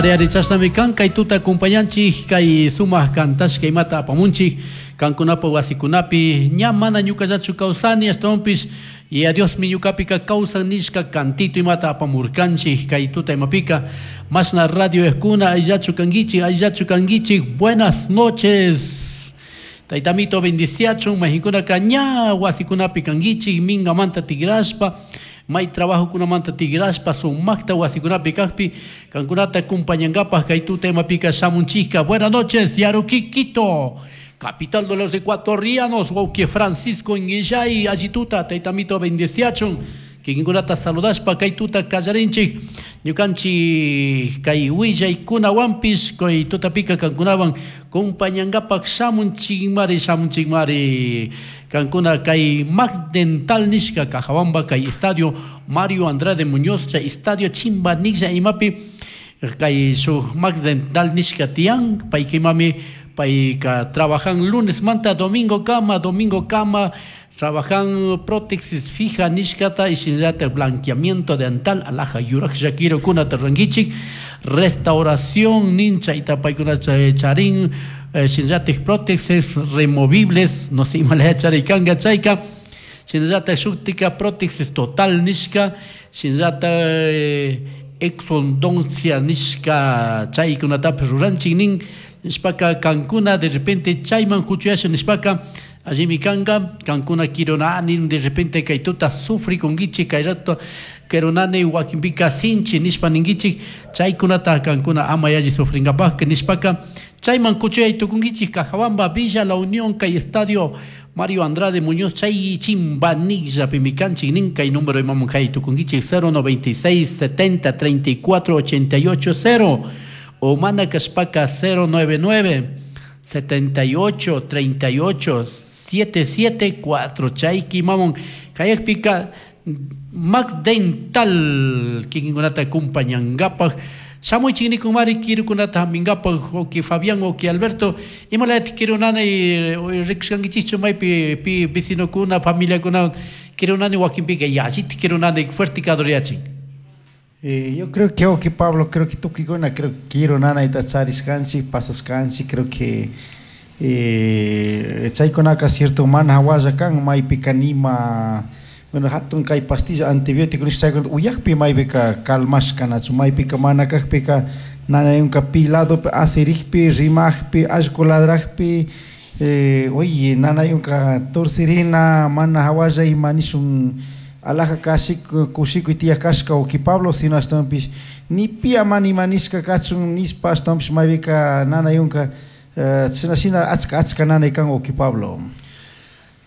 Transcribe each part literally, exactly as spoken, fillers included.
Ari ari chashnami kan kay tuta acompañanchik kay sumak kantashka imata apamunchik kankunapa wasikunapi ña mana ñukallachu kawsani ashtawanpish Yaya Diosmi ñukapika kawsan nishka kantito imata apamurkanchik kay tuta imapika mashna radio ejkuna ayllachu kankichik ayllachu kankichik. Buenas noches, Taytamito bendiciachun. Mayhinkunaka ña wasikunapi kankichik mingamanta tigrashpa may trabajokunamanta tigrashpa sumakta wasikunapi kakpi kankunata acompañankapaj kay tuta imapika shamunchikka. Buenas noches, Yaruqui, Quito, capital de los ecuatorianos. Wawki Francisco Inguillay, allituta, Taytamito bendiciachun. Kikinkunata saludashpa kay tuta kallarinchik ñukanchik kay willaykunawanpish kay tutapika kankunawan compañankapak shamunchikmari shamunchikmari kankuna kay Max Dental nishka Cajabamba kay estadio Mario Andrade Muñoz chay estadio chimba nisha imapi kay shuk Max Dental nishka tiyan. Paykimami payka trabajan lunes manta domingo kama domingo kama trabajan prótesis fija nishkata y shinallata blanqueamiento dental, alhaja yuraklla kirukunata rurankichik, restauración nin chayta paykuna charin, shinallatik prótesis removibles, no sé imalaya charikanga chayka, shinallatak shutika prótesis total nishka, shinallata exodoncia nishka chaykunatapish ruranchik nin. Nishpaka kankuna de repente chayman kuchuyasha nishpaka allimi kanga kankuna kirunani de repente kay tuta sufri kunkichik kay rato kirunani wakinpika sinchi nishpa ninkichik chaykunata kankuna ama yalli sufrinkapaka nishpaka chayman kuchuyay tukunkichik Cajabamba, Villa La Unión, kay estadio Mario Andrade Muñoz chay chimbanillapimi kanchik nin. Kay número imamun kay tukunkichik cero noventa y seis setenta treinta y cuatro ochenta y ocho cero o mana kashpaka cero nueve nueve setenta y ocho treinta y ocho siete siete cuatro. Chayki mamon kayakpika Max Dental kikinkunata acompañankapaj shamuychik nikunmari kirukunata haminkapak. Oki Fabián, oki Alberto, imalaytik kirunani rikushkankichikchu maypi pi vecinokuna familiakuna kirunani wakinpika yallitik kirunani fuerte kaduriyachin? Eh, yo creo que, ok, Pablo, creo que tukikuna, creo que kirunanayta charishkanchik, pasashkanchik, creo que eh, chaykunaka cierto mana hawalla kan maypika nima, bueno, hatun kay pastilla antibiótico nish chaykuna uyakpi maypika calmashkanachu maypika mana kakpika nanayunka pi ladopi asirikpi rimakpi allku ladrakpi eh, oye nanayunka torcirina mana hawalla ima nishun alhaja kashik kushikuy tiyaq kashka uki Pablo, sino ashtawanpish ni pi ama nima nishka kachun nishpa ashtawanpish maypika nanayunka chashna shina achka achka nanay kan uki Pablo.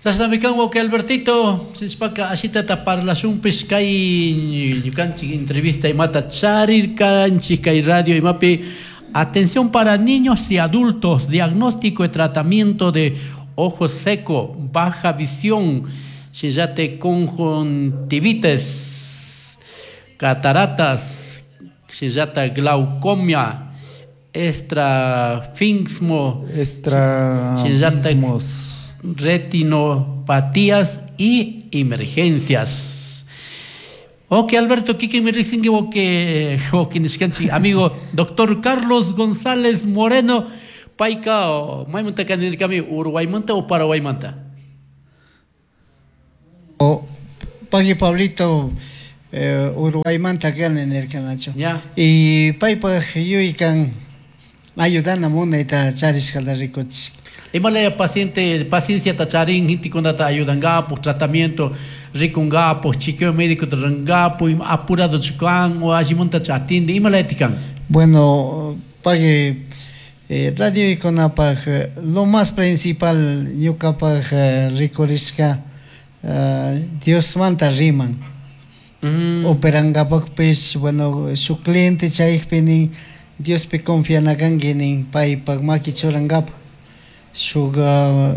Chashnami kan wawki Albertito, nishpaka ashitata parlashunpish kay ñukanchik entrevista imata charirkanchik kay radio imapi. Atención para niños y adultos, diagnóstico y tratamiento de ojo seco, baja visión, shinallate conjuntivitis, cataratas, shinallata glaucoma, estrafismo, estrabismos, retinopatías y emergencias. Ok, Alberto, Kike me ricin que ok, nishkanchik amigo doctor Carlos González Moreno, payka maymanta kanirkami Uruguaymanta o Paraguaymanta? O paqui Pablito, eh, Uruguaymanta kani nirkanachu. Ya. Y paypaj yuykan ayudana munayta charishkata rikuchik. Imalaya paciente, paciencia tacharin, hintikunata ayudangapo, tratamiento rikungapo, chequeo médico rangapo, apurado chukan o allimunta chatinde, imalaya tikan. Bueno, pague eh, radio ikonapaj, lo más principal ñukapaj eh, rikurishka eh, Dios manta riman. Mm. Operangapakpish, bueno, su cliente chaypini Diospi confianakanki nin paypak maki churangapa. Shuk, uh,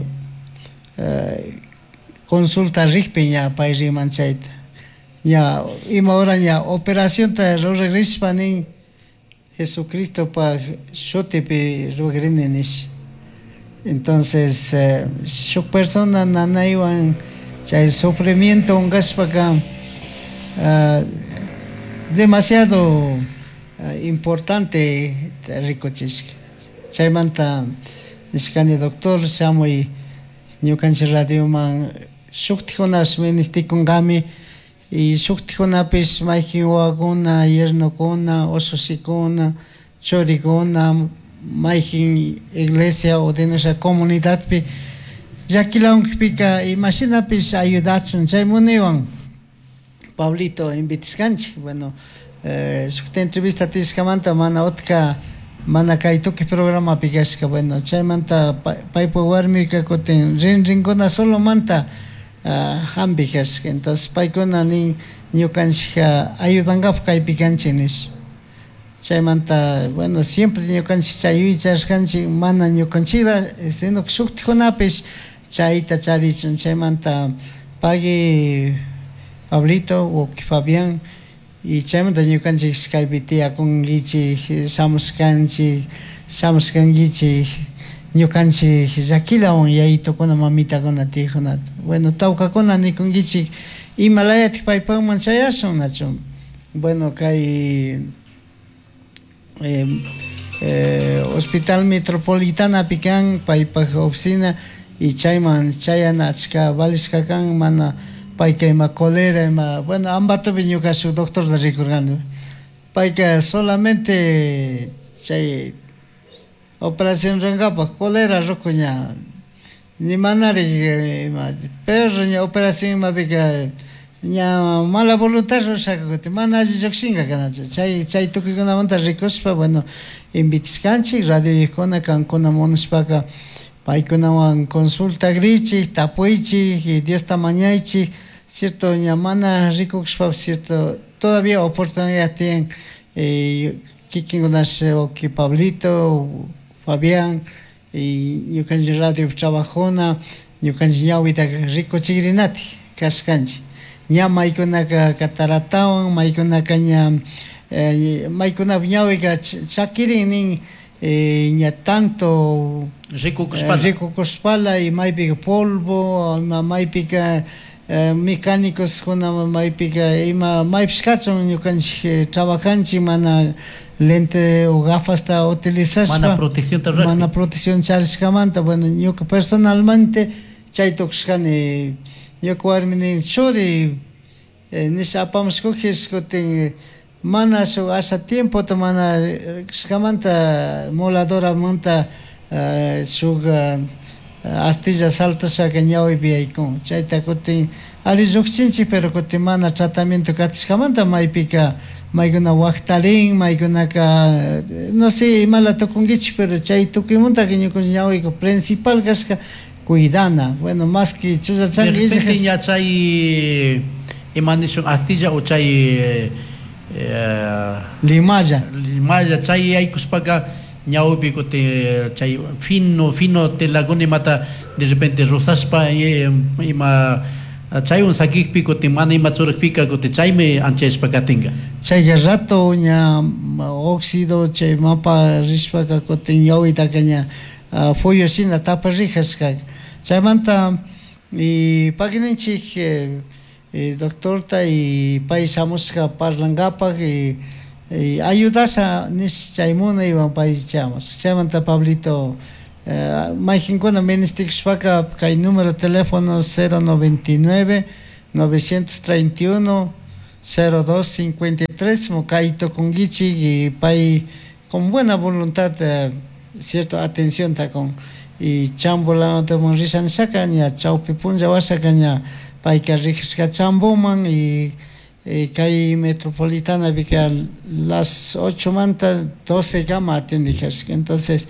eh, consulta rikpi ña pay riman chayta. Ña ima hora ña operacionta rurarishpa nin Jesucristopaj shutipi ruragrini nish. Entonces, eh, shuk persona nanaywan chay sufrimiento unkashpaka, uh, demasiado Importante rikuchishka. Chaymanta nishkani doctor shamuy ñukanchik radioman shuktikkunash ministikunkami y shuktikkunapish mayjin wawakuna, yernokuna, ushushikuna, churikuna mayjin iglesia o de nuestra comunidadpi llakilawankpika imashinapish ayudachun chay munaywan Pablito invitashkanchik. Bueno, eh, shukta entrevista tishkamanta mana utka mana kay tukuy programapi kashka. Bueno, chaymanta paypa warmika kutin rinrinkuna solomanta hampi kashka. Entonces paykuna nin ñukanchik ayudankapak kaypi kanchik nish. Chaymanta, bueno, siempre ñukanchik chay yuyaychashkanchik mana ñukanchikla sino que shuktikkunapish chayta charichun. Chaymanta pagui Pablito o Fabián y chaymanta ñukanchik kaypi tiyakunkichik shamushkanchik shamushkankichik ñukanchik llakilawan yayitukuna mamitakuna tiyajunata. Bueno, tawkakuna nikunkichik imalayatik paypakman chayashun nachu. Bueno, kay eh, eh, Hospital Metropolitanapi kan paypak oficina y chayman chayana achka valishka kan mana payka ima cólera ima, bueno, Ambatopi ñuka shuk doctorta rikurkani payka solamente chay operación rurankapak cólera ruku ña ni manari ima perro ña operación imapika ña mala voluntad rurashaka kutin mana alli llukshinka kanachu chay chay tukuykunamanta rikushpa, bueno, invitashkanchik radioyukkuna kankuna munashpaka paykunawan consultakrichik tapuychik y Diosta mañaychik, cierto ña mana rikushpapish cierto todavía oportunidad tienen eh, kikinkunash wawki Pablito, Fabián y ñukanchik radio trabajuna ñukanchik ñawita rikuchikrinati kashkanchik ña maykunaka cataratawan maykunaka ña eh, maykunapak ñawika chakirin nin eh, ña tanto rikukushpala rikukushpala y maypika polvo ima maypika eh, mecánicos kuna maypika ima maypish kachun ñukanchik trabajanchik mana lente o gafasta utilizashpa mana protección ta rurakpi mana protección charishkamanta. Bueno, ñuka personalmente chay tukushkani ñuka warmi nin churi eh, nisha apamushkujish kutin mana shuk asha tiempota mana kashkamanta moladoramanta uh, shuk uh, astilla saltashaka ñawipi yaykun chayta kutin alli llukchinchik pero kutin mana tratamiento katishkamanta maypika maykuna waktarin maykunaka no sé imala tukunkichik pero chay tukuymuntaka ñukanchik ñawika principal kashka cuidana. Bueno, más que chulla de chanki repente ña chay ima nishun astilla o chay eh, limalla limalla chay yaykushpaka ñawpi kutin chay fino fino telakuna imata de repente rozashpa ima chaywan sakikpi kutin mana ima churakpika kutin chaymi anchayashpa katinka. Chayka rato ña óxido chay mapa rishpaka kutin ñawitaka ña fuyo shina taparijashka. Chaymanta y pakininchik eh, eh, doctorta y pay shamushka parlankapak y, y ayudasha nish chay munaywan pay chamushka. Chaymanta Pablito eh, mayjinkuna ministikushpaka kay número de teléfono cero noventa y nueve novecientos treinta y uno cero dos cincuenta y tres kay tukunkichik y pay con buena voluntad eh, cierto atención ta con y chambolamanta rishanshaka ña chawpi punlla washaka ña payka rijishka chamboman y, y kay metropolitana pika las ocho manta doce kama atendijashka. Entonces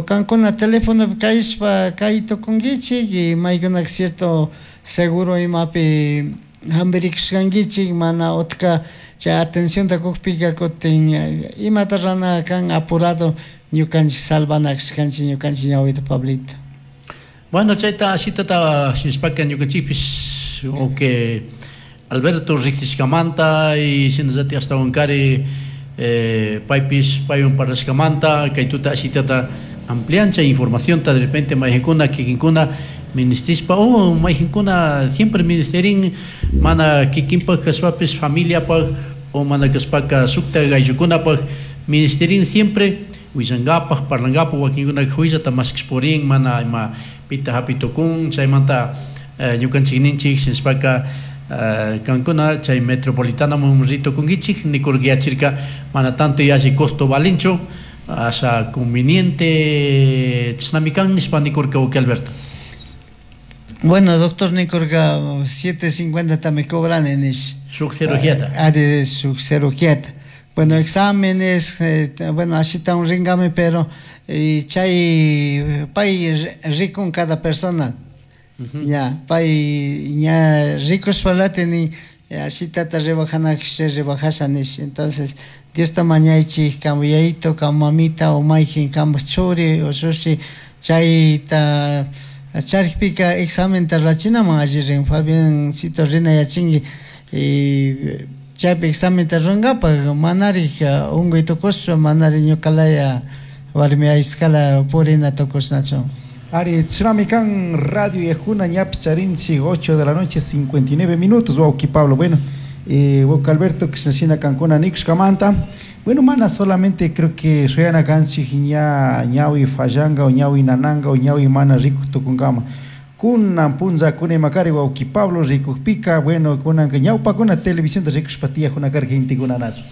kankuna teléfono kayshpa kay tukunkichik y maykunaka cierto seguro imapi hampirikushkankichik mana utka chay atencionta kukpika kutin imata rana kan apurado ñukanchik salvanakashkanchik ñukanchik ñawita Pablito. Bueno, chayta ashitata shinashpaka ñukanchikpish o que Alberto riksishkamanta y shinallatik ashtawankari eh, paypish paywan parlashkamanta kay tuta ashitata ampliancha informacionta de repente mayjinkuna kikinkuna ministishpa o mayjinkuna siempre ministerin mana kikinpak kashpapish familiapak o mana kashpaka shukta ayllukunapaq ministerin siempre willangapaq parlangapaq wakinkunaka huyllata mashkashpurin mana ima pita hapi tukun chaymanta ñukanchik ninchik shinashpaka kankuna chay metropolitanaman ritukunkichik nikurkiyachirka mana tanto yalli costo valinchu asha conveniente chashnami kan nishpa nikurka wawki Alberto. Bueno, doctor nikurka siete cincuenta me cobran nish. Shuk cirugía. Ari shuk cirugía. Bueno, exámenes, eh, bueno, así está un ringame, pero eh, chay pay rico cada persona. Uh-huh. Ya, pay ya ricos palate ni así tata rebajana se rebajasa nish. Entonces, Dios ta mañaichi kamuyayito, kamamita o maijin kamchuri o sushi chay ta charpika examen ta rachinaman alli rin Fabián sito rina yachingi y chaypi examen ta runkapa manari unguy tukushpa manari ñukalaya warmi ayskala purina tukushnachu. Ari Chinami kan Radio Yajuna ñapi charinchi ocho de la noche cincuenta y nueve minutos. Wauki Pablo, bueno, eh, wauki Alberto kishnashina kankuna nikushkamanta. Bueno, mana solamente creo que shuyana kanchik ña ñawi fallanga o ñawi nananga o ñawi mana rikuq tukunkama. Kunan punlla kuna imakari wauki Pablo rikukpika, bueno, kunanka ñawpakuna televisión rikushpa tiyajuna karka gentekunanachu.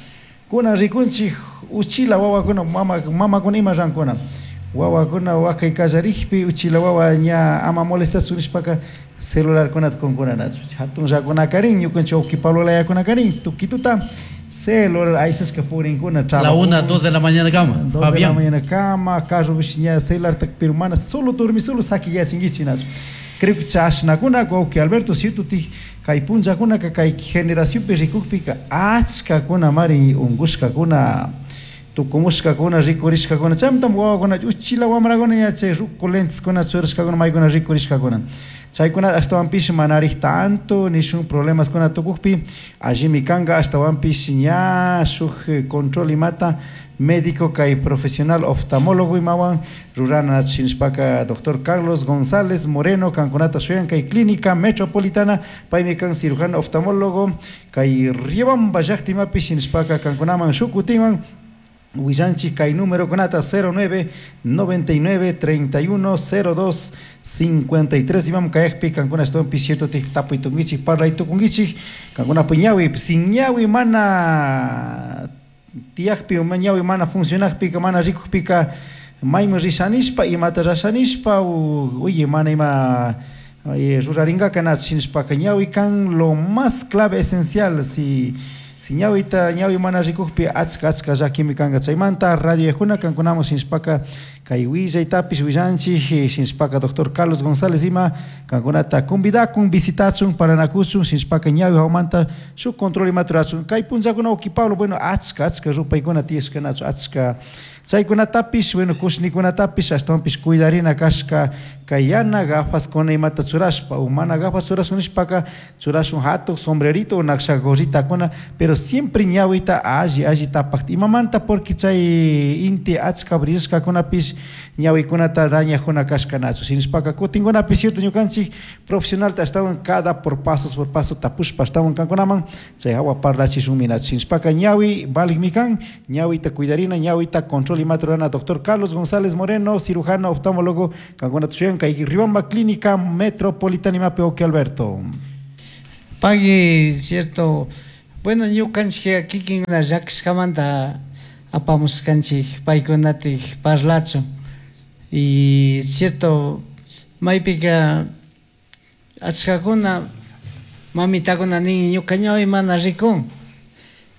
Kunan rikunchik uchila wawakuna mama mamakuna ima rankuna. Wawakuna wakay kallarikpi uchila wawa ña ama molestachun nishpaka celularkunata kunkunanachu. Hatun llakunakarin ñukanchik wauki Pablo layakunakarin tukituta celular aysashka purinkuna La una, dos de la mañana kama. Dos de la mañana kama, carro ña celular pero mana solo dormi solo sakiyachinkichik nachu. Creo que chashnakuna wauki Alberto cierto ti kay punllakuna kay generacionpi rikukpika achkakuna mari unkushkakuna tukumushkakuna rikurishkakuna chaymantam wawakuna uchila wamrakuna ña chay ruku lenteskuna churashkakuna maykuna rikurishkakuna chaykuna ashtawanpish manarik tanto nishun problemaskuna tukukpi allimi kanka ashtawanpish ña shuk control imata médico kay profesional oftalmólogo imawan rurana shinashpaka doctor Carlos González Moreno kankunata shuyan kay clínica metropolitana paymi kan cirujano oftalmólogo kay Riobamba llaqtimapi shinashpaka kankunaman shukutiman willanchik kay número kunata cero nueve noventa y nueve treinta y uno cero dos cincuenta y tres imam kayakpi kankuna ashtawanpi cierto tapuy tukunkichik parlay tukunkichik kankuna ñawi sin ñawi mana tiyakpi ñawi mana funcionakpika mana rikukpika mayman rishanishpa imata rashanishpa oye mana ima rurarinkaka nachu shinashpaka ñawi kan lo más clave esencial si si ñawita ñawi mana rikukpi achka achka llakimi kanka chaymanta radio Yajuna kankunaman shinashpaka kay willaytapish willanchik shinashpaka doctor Carlos González ima kankunata convidakun visitachun paranakuchun shinashpaka ñawi hawamanta shuk control imata rurachun kay punllakuna wauki Pablo bueno achka achka rupaykuna tiyashkanachu achka chaykunatapish bueno kushnikunatapish ashtawanpish cuidarina kashka kay yana gafaskuna imata churashpa o mana gafas churashun nishpaka churashun hatun sombrerito o naksha gorritakuna pero siempre ñawita alli alli tapakta imamanta porque chay inti achka brillashkakunapish ñawikunata dañajuna kashkanachu shinashpaka kutinkunapish cierto ñukanchik profesionalta ashtawan cada por pasos por paso tapushpa ashtawan kankunaman chay hawa parlachishunminachu shinashpaka ñawi valikmi kan ñawita cuidarina ñawita control imata rurana doctor Carlos González Moreno cirujano oftalmólogo kankunata shuyan kay Riobamba Clínica Metropolitana imapi wauki Alberto. Pagui cierto bueno ñukanchik kikinkuna llakishkamanta apamushkanchik paykunatik parlachun y cierto maypika achkakuna mamitakuna nin ñuka ñawi mana rikun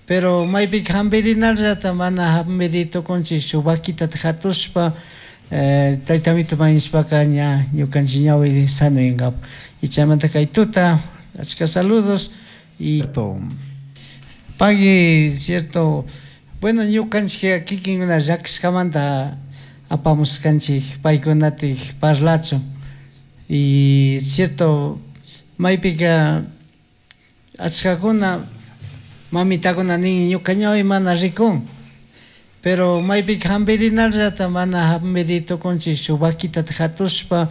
pero maypika hampirinallata mana hampiri tukunchik shuk vaquitata hatushpa eh, taytamito mañashpaka ña ñukanchik ñawi sanoyankapak y chaymanta kay tuta achka saludos y pagui cierto bueno ñukanchik kikinkuna llakishkamanta apamushkanchik paykunatik parlachun y cierto maypika achkakuna mamitakuna nin ñuka ñawi mana rikun pero maypika hampirinallata mana hampiri tukunchik shuk vaquitata hatushpa